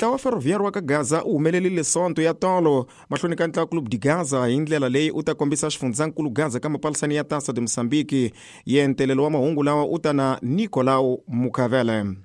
Ntlawa wa Ferroviário wa ka Gaza u humelerile Sonto ya tolo mahlweni ka ntlawa Clube de Gaza hi ndlela leyi u ta kombisa xifundzankulu Gaza ka mapalisani ya Taça de Moçambique. Yentelelo wa mahungu lawa u ta na Nicolau Mukavele.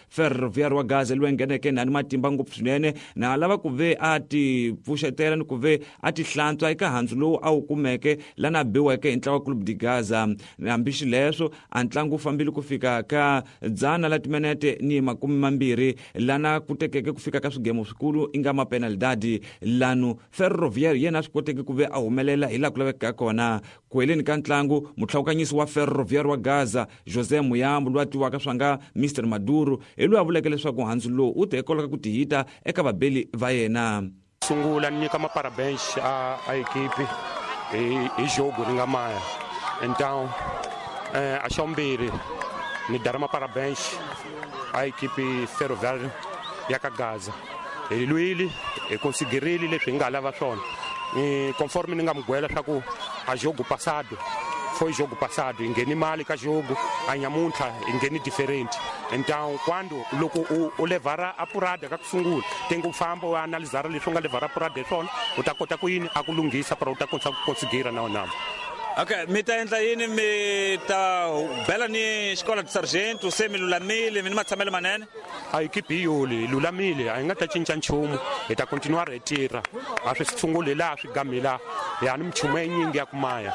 Ferroviário wa Gaza loyi ngheneke nani matimba ngopfu swinene na lava ku ve a ti pfuxetela ni ku ve a ti hlantswa eka handzu lowu a wu kumeke lana biweke hi ntlawa Clube de Gaza. Hambi xileswo a ntlangu wu fambile ku fika ka dzana la timinete ni 20 lana ku tekeke ku fika ka swigemo swikulu i nga mapenalidadi lanu Ferroviário yena a swi koteke ku ve a humelela hi laha ku lavekaka kona. Ku heleni ka ntlangu, mutlhawukanyisi wa Ferroviário wa Gaza, José Muyambo, loyi a tiviwaka swa nga Mr Maduro, hi loyi a vuleke leswaku handzu lowu wu te hikwalaho ka ku tihita eka vabeli va yena. Sungula ni nyika maparabens a ekipi hi jogo ni nga maya. Então, a xa vumbirhi ni dara maparabens a ekipi Ferroviário ya ka Gaza. Hi lwile, hi konsigirile leswi hi nga lava swona. Ni conforme ni nga mugwela swa ku a jogo passado foi jogo passado, hi ngheni mali ka jogo, a nyamuntlha hi ngheni different. Então quando loko u levhara a purada ka ku sungula, tenga u famba u analizara leswi u nga levhara purada hi swona, u ta kota ku yini a ku lunghisa para u ta kota ku konsigira na wena. Okay, mi ta endla yini? Mi ta bela ni xikola de sargento, se mi lulamile, mi ni matshamelo manene? A ekipi hi yoli, hi lulamile, a hi nga ta cinca nchumu, hi ta continuar hi tirha. A swi sunguli laha swi gami laha, hi ha ni minchumu yinyingi ya ku maya.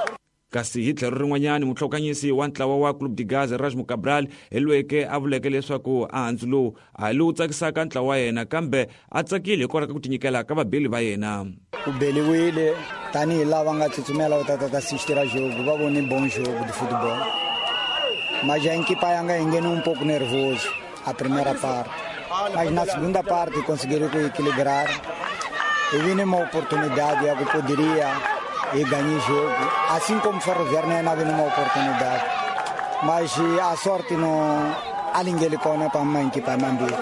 Kasi hi tlhelo rin'wanyana, muhlokanyisi wa ntlawa wa Clube de Gaza, Erasmo Cabral, hi loyeke a vuleke leswaku a handzu lowu a hi lowu tsakisaka ntlawa wa yena, kambe a tsakile hikwalaho ka ku tinyikela ka vabeli va yena. U beliwile tanihi lava nga tsutsumela va ta ta ta assistira jogo, va vone bon jogo de football. Mas a equipa yanga yi nghene un pouco nervoso a primeira parte, mas na segunda parte conseguiram equilibrar e vi uma oportunidade ya ku poderia e ganhar jogo, assim como Ferroviário não havia uma oportunidade, mas a sorte não alingele kona para uma equipa mambili.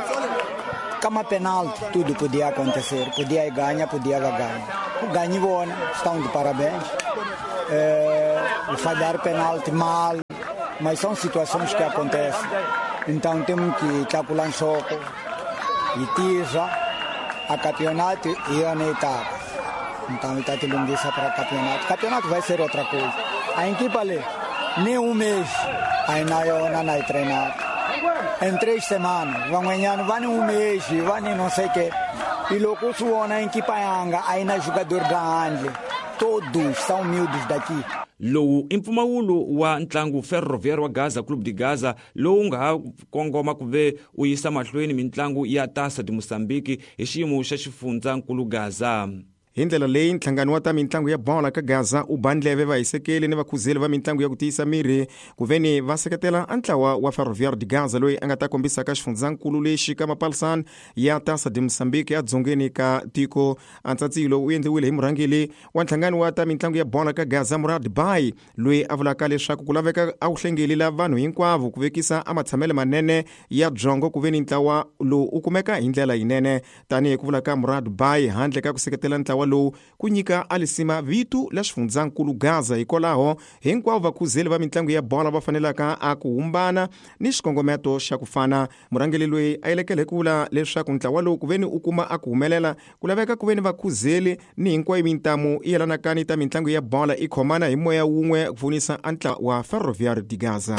Kama penalti, tudo podia acontecer, podia ganhar, podia ganhar. Ganhou bona, estão de parabéns. Falhar penalti mal, mas são situações que acontecem. Então temos que calcular um soco e tira a campeonato e a etapa. Então está te lunguiça para campeonato. Campeonato vai ser outra coisa. A equipa ali, nem um mês, ainda eu não treinar. Em 3 semanas, vão ganhar, não vai nem um mês, vai nem não sei o quê. E logo suona em equipa yanga, ainda jogador da Angle. Todos são miúdos daqui. Lowu i mpfumawulo wa ntlangu Ferroviário wa Gaza Clube de Gaza lowu nga ha kongoma ku ve u yisa mahlweni mintlangu ya Taça de Moçambique hi xiyimo xa xifundzankulu Gaza. Hi ndlela leyi nhlangano wa ta mintlangu ya bola ka Gaza u ba ndleve vahisekeli ni vakhuzeli va mintlangu ya ku tiyisa miri ku veni va seketela a ntlawa wa Ferroviário de Gaza loyi a nga ta kombisa ka xifundzankulu lexi ka mapalsan ya Taça de Moçambique edzongeni ka tiko. Antsatsilo u endliwile hi murhangeri wa nhlangano wa ta mintlangu ya bola ka Gaza Murad Bay loyi a vulaka leswaku ku laveka a wu hlengeli la vanhu hinkwavo ku vekisa a matshamelo manene ya byongo ku veni ntlawa lowu u kumeka hi ndlela yinene. Tanihi ku vula ka Murad Bay, handle ka ku seketela ntlawa lowu ku nyika alisima vito la xifundzankulu Gaza, hikwalaho hinkwavo vakhuzeli va mintlangu ya bola va fanelaka a ku humbana ni xikongometo xa ku fana. Murhangeri loyi a elekele hi ku vula leswaku ntlawa lowu ku veni u kuma a ku humelela ku laveka ku veni vakhuzeli ni hinkwayo mintamu yi yelanaka ni ta mintlangu ya bola i khomana hi moya wun'we ku pfunisa a ntlawa wa Ferroviário de Gaza.